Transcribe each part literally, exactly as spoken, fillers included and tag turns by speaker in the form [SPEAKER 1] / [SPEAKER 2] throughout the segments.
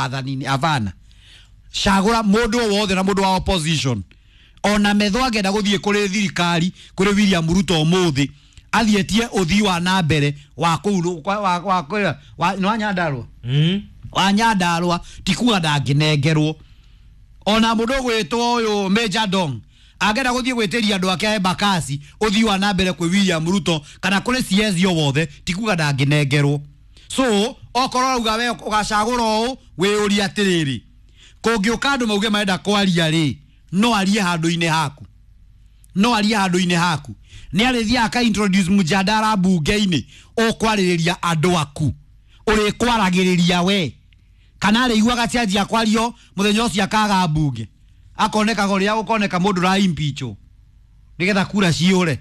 [SPEAKER 1] Athani avana cagura mundu wothe na mundu wa opposition ona metho angenda guthie kuri thirikari kuri William Ruto umuthi athietie uthii wa na mbere wa kuu wa wa wa wa Nyandarua
[SPEAKER 2] Mm.
[SPEAKER 1] wa Nyandarua ti kuga ndangĩnengerwo ona mũndũ ũgwĩtwo ũyũ Major Dong angĩenda gũthiĩ gwĩtĩria andũ ake a Embakasi ũthii wa na mbere kwĩ William Ruto kana kũrĩ C S o wothe ti kuga ndangĩnengerwo. So okorwo rauga we ũgacagũra ũũ wĩyũrie atĩrĩrĩ, kũngĩũka andũ mauge marenda kwaria rĩ, no arie handũ-inĩ haku, no arie handũ-inĩ haku nĩ arĩthiaga aka introduce mjadala bunge-inĩ ũkwarĩrĩria andũ aku ũrĩkwaragĩrĩria we kana arĩiguaga cianjia kwario mũthenya ũcio akaga mbunge akonekaga ũrĩa gũkoneka mũndũ ra impeach nĩgetha kura ciũre.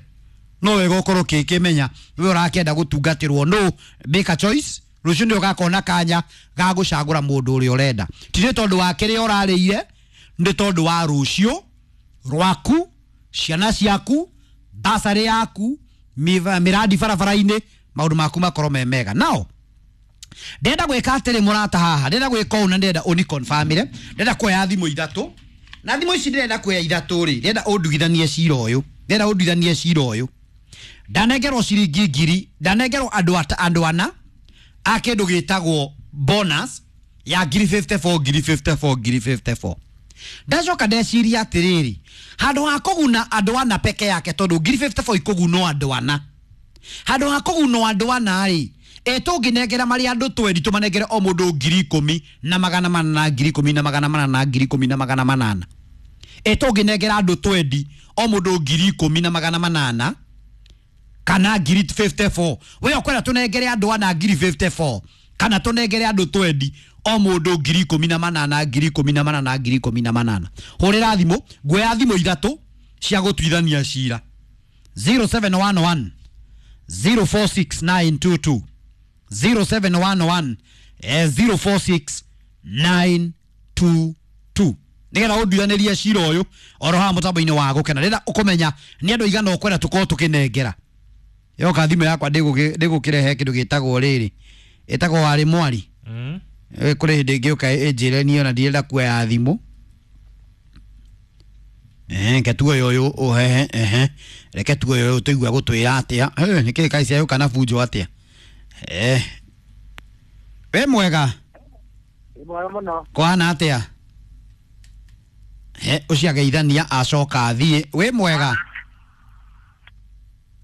[SPEAKER 1] No wega ũkorwo ũkĩkĩmenya we ũrakĩenda gũtungatĩrwo no make a choice. Rũciũ nĩ ũgakona kanya ga gũcagũra mũndũ ũrĩa ũrenda, ti nĩ tondũ wa kĩrĩa ũrarĩire, nĩ tondũ wa rũciũ rwaku, ciana ciaku, basarĩ yaku, mĩrandi barabara-inĩ, maũndũ maku makorwo me mega. Nao ndenda gwĩka atĩrĩ mũrata haha, ndenda gwĩka ũũ na ndenda ũni confirmire, ndenda kuoya thimũ ithatũ na thimũ ici ndĩrenda kuoya ithatũ rĩ, ndenda ũndugithanie cira ũyũ, ndenda ũndugithanie cira ũyũ. Ndanengerwo ciringi ngiri, ndanengerwo andũ andũ ana a kĩndũ gĩtagwo bonus ya ngiri fifty four, ngiri fifty four, ngiri fifty four. Ndacoka ndeciria atĩrĩrĩ, handũ ha kũguna andũ ana peke yake tondũ ngiri fifty four ikũgunwo andũ ana, handũ ha kũgunwo andũ ana rĩ, e tũngĩnengera marĩ andũ twendi tũmanengere o mũndũ ngiri ikũmi na magana manana, ngiri ikũmi na magana manana, ngiri ikũmi na magana manana. E tũngĩnengera andũ twendi o mũndũ ngiri ikũmi na magana manana kana ngiri fifty four. We ũkwenda tũnengere andũ ana ngiri fifty four kana tũnengere andũ twendi o mũndũ ngiri ikũmi na manana, ngiri ikũmi na manana, ngiri ikũmi na manana. Hũrĩra thimũ, nguoya thimũ ithatũ cia gũtuithania cira zero seven one one zero four six nine two two zero seven one one zero four six nine two two nigetha ũnduithanirie cira ũyũ oro haha mũtambo-inĩ wa gũkena. Rĩrĩa ũkũmenya nĩ andũ aigana ũkwenda tũkorwo tũkĩnengera. Yoka thimũ yakwa ndĩgũkĩrehe kĩndũ gĩtagwo rĩrĩ, ĩtagwo warĩ mwari.
[SPEAKER 2] Mm.
[SPEAKER 1] Kũrĩ hĩndĩ ĩngĩũka ĩnjĩre niĩ ona ndirenda kuoya thimũ. Eh, reke tuoye ũyũ ũhehe, ehe, reke tuoye ũyũ tũigue gũtwĩra atĩa. Eh, nĩkĩĩ kaĩ ciayũka na bunjo atĩa? Eh. We mwega?
[SPEAKER 3] Mwega mũno.
[SPEAKER 1] Kũhana atĩa? Eh, ũcio ageithania acoka athiĩ. We mwega?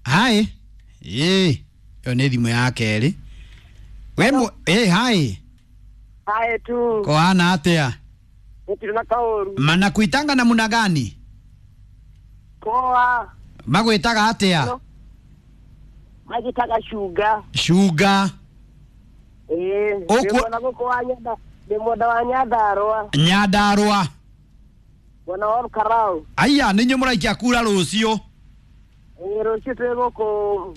[SPEAKER 1] Hai. Ĩ, ĩyo nĩ thimũ ya kerĩ. We mwe, ĩ, hai.
[SPEAKER 3] Hai tu.
[SPEAKER 1] Kũhana atĩa?
[SPEAKER 3] Gũtirĩ na kaũru.
[SPEAKER 1] Manakuitanga namna gani?
[SPEAKER 3] Poa.
[SPEAKER 1] Magwĩtaga atĩa?
[SPEAKER 3] Magĩtaga Shuga.
[SPEAKER 1] Shuga.
[SPEAKER 3] Ĩ,
[SPEAKER 1] Ũkuo-
[SPEAKER 3] ndĩ mwena gũkũ wa Nyanda, ndĩ mwena wa Nyandarũa.
[SPEAKER 1] Nyandarũa.
[SPEAKER 3] Mwena wa Olkalau.
[SPEAKER 1] Aya, nĩ inyuĩ mũraikia kura rũciũ.
[SPEAKER 3] Ĩ, rũciũ twĩ gũkũ,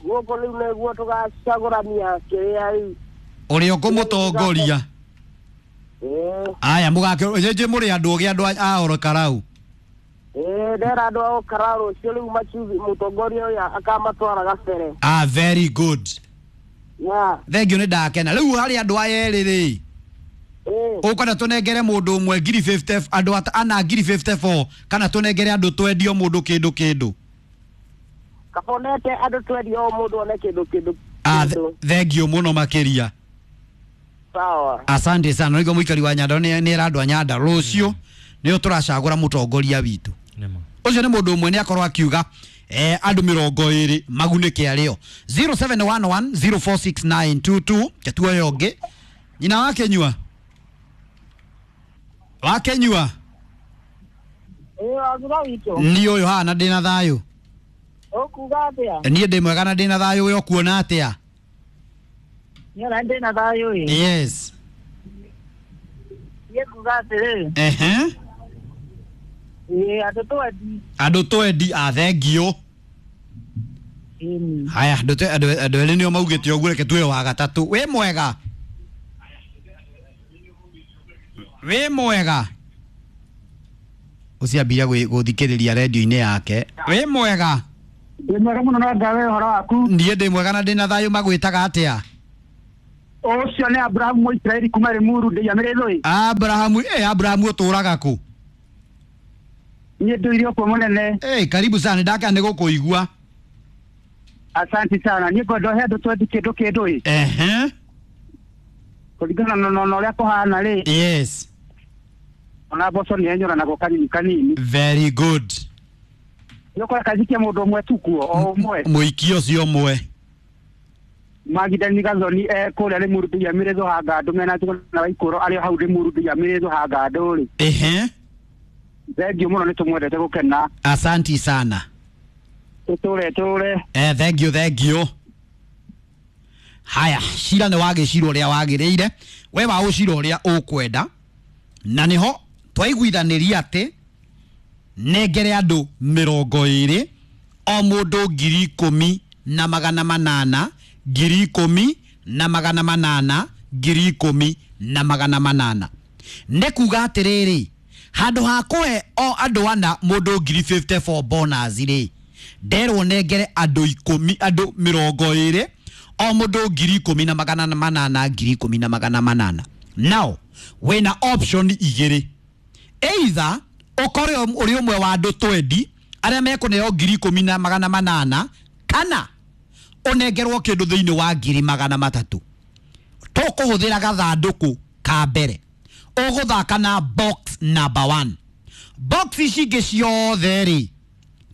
[SPEAKER 3] gũkũ rĩu nĩguo tũgacagũrania kĩrĩa rĩu.
[SPEAKER 1] Ũrĩa ũkũmũtongoria.
[SPEAKER 3] Ĩ.
[SPEAKER 1] Aya, mũgake, njĩ mũrĩ andũ ogĩ andũ a Olkalau.
[SPEAKER 3] Ĩ, ndera andũ a Olkalau rũciũ rĩu macuthi mũtongoria ũyũ akamatwara gabere.
[SPEAKER 1] Ah, very good.
[SPEAKER 3] Yeah.
[SPEAKER 1] Thank you, nĩ ndakena. Rĩu harĩ andũ aya erĩ rĩ,
[SPEAKER 3] Ĩ.
[SPEAKER 1] ũkwenda tũnengere mũndũ ũmwe ngiri fifty, andũ ata-, ana ngiri fifty four, kana tũnengere andũ twendi o mũndũ kĩndũ kĩndũ?
[SPEAKER 3] Kabonete andũ twendi o mũndũ one kĩndũ kĩndũ
[SPEAKER 1] Ah,
[SPEAKER 3] kĩndũ.
[SPEAKER 1] thank you mũno makĩria.
[SPEAKER 3] Sawa.
[SPEAKER 1] Asante sana. Nĩguo mũikari wa Nyandarua nĩ nĩ era andũ a Nyandarua rũciũ nĩo tũracagũra mũtongoria witũ.
[SPEAKER 2] Nĩma.
[SPEAKER 1] Ũcio nĩ mũndũ ũmwe nĩ akorwo akiuga eh, andũ mĩrongo ĩrĩ magunĩke arĩo. zero seven one one zero four six nine two two ketuoyo ũngĩ. Nyina wa Kenyua? Wa Kenyua?
[SPEAKER 3] Ĩ, wagura witũ.
[SPEAKER 1] Niĩ ũyũ haha na ndĩna thayũ.
[SPEAKER 3] Ũkuga atĩa?
[SPEAKER 1] Niĩ ndĩ mwega na ndĩna thayũ, we ũkuona atĩa?
[SPEAKER 3] Niĩ ona ndĩna thayũ ĩ.
[SPEAKER 1] Yes.
[SPEAKER 3] Niĩ nguga atĩrĩrĩ.
[SPEAKER 1] Ehe.
[SPEAKER 3] Ĩ, andũ twendi.
[SPEAKER 1] Andũ twendi, a thengiũ.
[SPEAKER 3] Ĩni.
[SPEAKER 1] Haya, andũ twe-, andũ, andũ erĩ nĩo maugĩte ũguo, reke tuoe wa gatatũ. Wĩ mwega? Wĩ mwega? Ũcio ambia gũthikĩrĩria redio-inĩ yake. Wĩ mwega?
[SPEAKER 3] Ndĩ mwega mũno na ngawe ũhoro waku.
[SPEAKER 1] Niĩ ndĩ mwega na ndĩna thayũ. Magwĩtaga atĩa?
[SPEAKER 2] Ũcio nĩ Abrahamu Mũisiraeli kuma Limuru ndĩiamĩrĩrwo.
[SPEAKER 1] Abrahamu, eh Abrahamu ũtũraga kũ?
[SPEAKER 2] Niĩ ndũire ũkuo mũnene.
[SPEAKER 1] Eh, karibu sana, ndaka nĩ gũkũigua.
[SPEAKER 2] Asante sana. Niĩ ngwenda ũhe andũ twendi kĩndũ kĩndũ ĩ.
[SPEAKER 1] Ehe.
[SPEAKER 2] Kũringana na na ũrĩa kũhana rĩ.
[SPEAKER 1] Yes.
[SPEAKER 2] Ona mboco nĩ enyũranagwo kanini kanini.
[SPEAKER 1] Very good.
[SPEAKER 2] Nĩ ũkora kajikia mũndũ ũmwe tu kuo, o ũmwe.
[SPEAKER 1] Mũikia ũcio ũmwe.
[SPEAKER 2] Magidani Gathoni eh kũrĩa Limuru ndĩiamĩrĩrwo hangandũ mena Njũgũna na Waikũrũ arĩ o hau Limuru ndĩiamĩrĩrwo hangandũ rĩ.
[SPEAKER 1] Ehe.
[SPEAKER 2] Thengiũ mũno nĩ tũmwendete gũkena.
[SPEAKER 1] Asanti sana.
[SPEAKER 2] Tũtũre tũre.
[SPEAKER 1] Eh, thank you, thank you. Haya, cira nĩ wagĩcira ũrĩa wagĩrĩire, we wa ũcira ũrĩa ũkwenda, na nĩho twaiguithanĩria atĩ nengere andũ mĩrongo ĩrĩ, o mũndũ ngiri ikũmi na magana manana, ngiri ikũmi na magana manana, ngiri ikũmi na magana manana. Nĩ kuga atĩrĩrĩ, handũ ha kũhe o andũ ana mũndũ ngiri fifty-four bonus rĩ, nderwo nengere andũ ikũmi, andũ mĩrongo ĩrĩ, o mũndũ ngiri ikũmi na magana manana, ngiri ikũmi na magana manana. Now, wĩna option igĩrĩ. Either ũkorwo ũrĩ ũmwe wa andũ twendi arĩa mekũneo ngiri ikũmi na magana manana, kana ũnengerwo kĩndũ thĩinĩ wa ngiri magana matatũ. Tũkũhũthĩra gathandũkũ ka mbere. Ũgũthaka na box number one. Box ici ingĩ ciothe rĩ,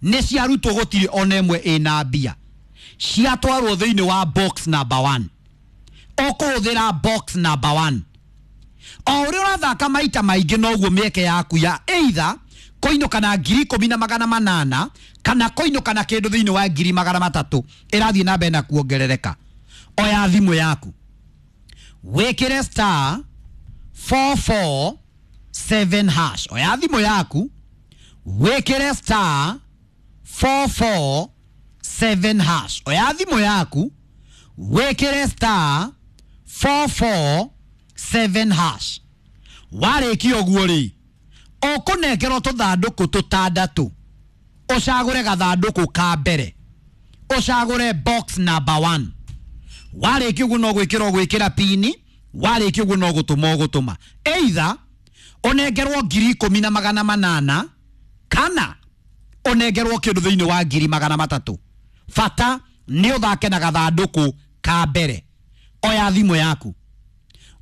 [SPEAKER 1] nĩ ciarutwo gũtirĩ ona ĩmwe ĩna mbia. Ciatwarwo thĩinĩ wa box number one. Ũkũhũthĩra box number one. O ũrĩa ũrathaka maita maingĩ noguo mĩeke yaku ya either kũinũka na ngiri ikũmi na magana manana kana kũinũka na kĩndũ thĩinĩ wa ngiri magana matatũ ĩrathiĩ na mbere na kuongerereka. Oya thimũ yaku, wĩkĩre star four four seven hash. Oya thimũ yaku, wĩkĩre star four four seven hash. Oya thimũ yaku, wĩkĩre star four four seven hash. Warĩkia ũguo rĩ, ũkũnengerwo tũthandũkũ tũtandatũ, ũcagũre gathandũkũ ka mbere, ũcagũre box number one. Warĩkia ũguo no gwĩkĩra ũgwĩkĩra pini, warĩkia ũguo no gũtũma ũgũtũma. Either ũnengerwo ngiri ikũmi na magana manana kana ũnengerwo kĩndũ thĩinĩ wa ngiri magana matatũ. Bata nĩ ũthake na gathandũkũ ka mbere. Oya thimũ yaku,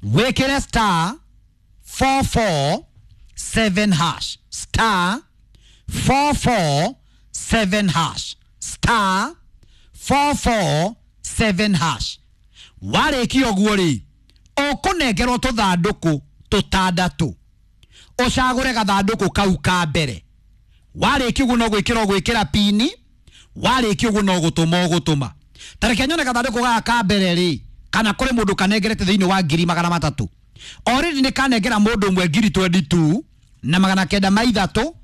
[SPEAKER 1] wĩkĩre star four four seven hash, star four four seven hash, star four four seven hash. Warĩkia ũguo rĩ, ũkũnengerwo tũthandũkũ tũtandatũ, ũcagũre gathandũkũ kau ka mbere. Warĩkia ũguo no gwĩkĩra ũgwĩkĩra pini, warĩkia ũguo no gũtũma ũgũtũma. Ta reke nyone gathandũkũ gaka ka mbere rĩ, kana kũrĩ mũndũ kanengerete thĩinĩ wa ngiri magana matatũ. Already nĩ kanengera mũndũ ũmwe ngiri twenty-two na magana kenda ma ithatũ,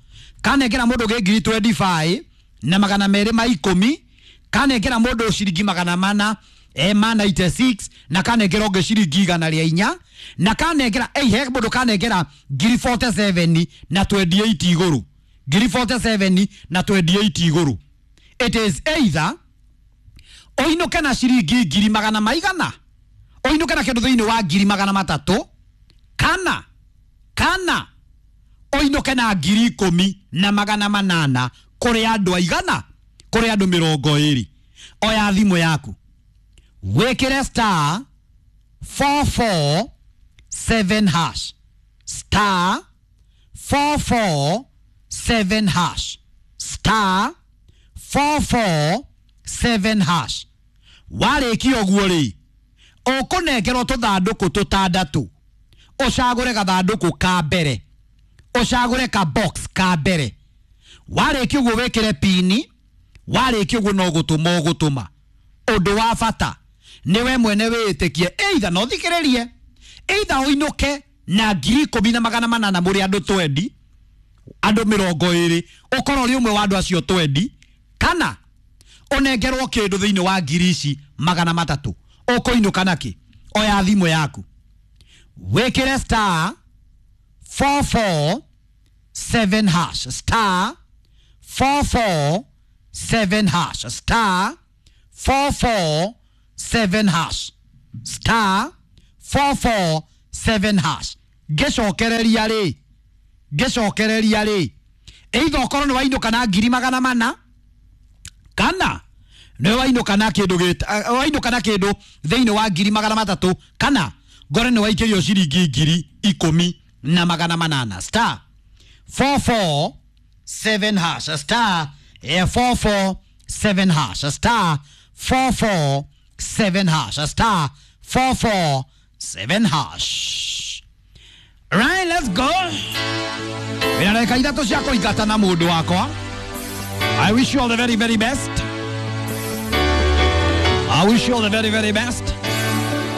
[SPEAKER 1] kanengera mũndũ ũngĩ ngiri twenty-five na magana merĩ ma ikũmi, kanengera mũndũ ciringi magana mana, eh, ma ninety-six, na kanengera ũngĩ ciringi igana rĩa inya, na kanengera, eh, he mũndũ kanengera ngiri forty-seven na twenty-eight igũrũ. Ngiri forty-seven na twenty-eight igũrũ. It is either ũinũke na ciringi ngiri magana maigana, ũinũke na kĩndũ thĩinĩ wa ngiri magana matatũ, kana kana ũinũke na ngiri ikũmi na magana manana kũrĩ andũ aigana, kũrĩ andũ mĩrongo ĩrĩ. Oya thimũ yaku, wĩkĩre star four four seven hash, star four four seven hash, star four four seven hash. Warĩkia ũguo rĩ, ũkũnengerwo tũthandũkũ tũtandatũ, ũcagũre gathandũkũ ka mbere, ũcagũre ka box ka mbere. Warĩkia ũguo wĩkĩre pini, warĩkia ũguo no gũtũma ũgũtũma. Ũndũ wa bata nĩ we mwene wĩĩtĩkie, either no thikĩrĩrie, either ũinũke na ngiri ikũmi na magana manana mũrĩ andũ twendi, andũ mĩrongo ĩrĩ, ũkorwo ũrĩ ũmwe wa andũ acio twendi, kana ũnengerwo kĩndũ thĩinĩ wa ngiri ici magana matatũ. Ũkũinũka nakĩ? Oya thimũ yaku, wĩkĩre star four four seven hash, star four four seven hash, star four four seven hash, star four four seven hash. Ngĩcokereria rĩ, ngĩcokereria rĩ, either ũkorwo nĩ wainũka na ngiri magana mana kana nĩ wainũka na kĩndũ gĩta wainũka na kĩndũ thĩinĩ wa ngiri magana matatũ kana ngore nĩ waikĩrio ciringi ngiri ikũmi na magana manana. Star four four seven hash, star eh, four four seven hash, star four four seven hash, star four four seven hash. Right, let's go. Wĩna ndagĩka ithatũ cia kũingata na mũndũ wakwa. I wish you all the very very best. I wish you all the very very best.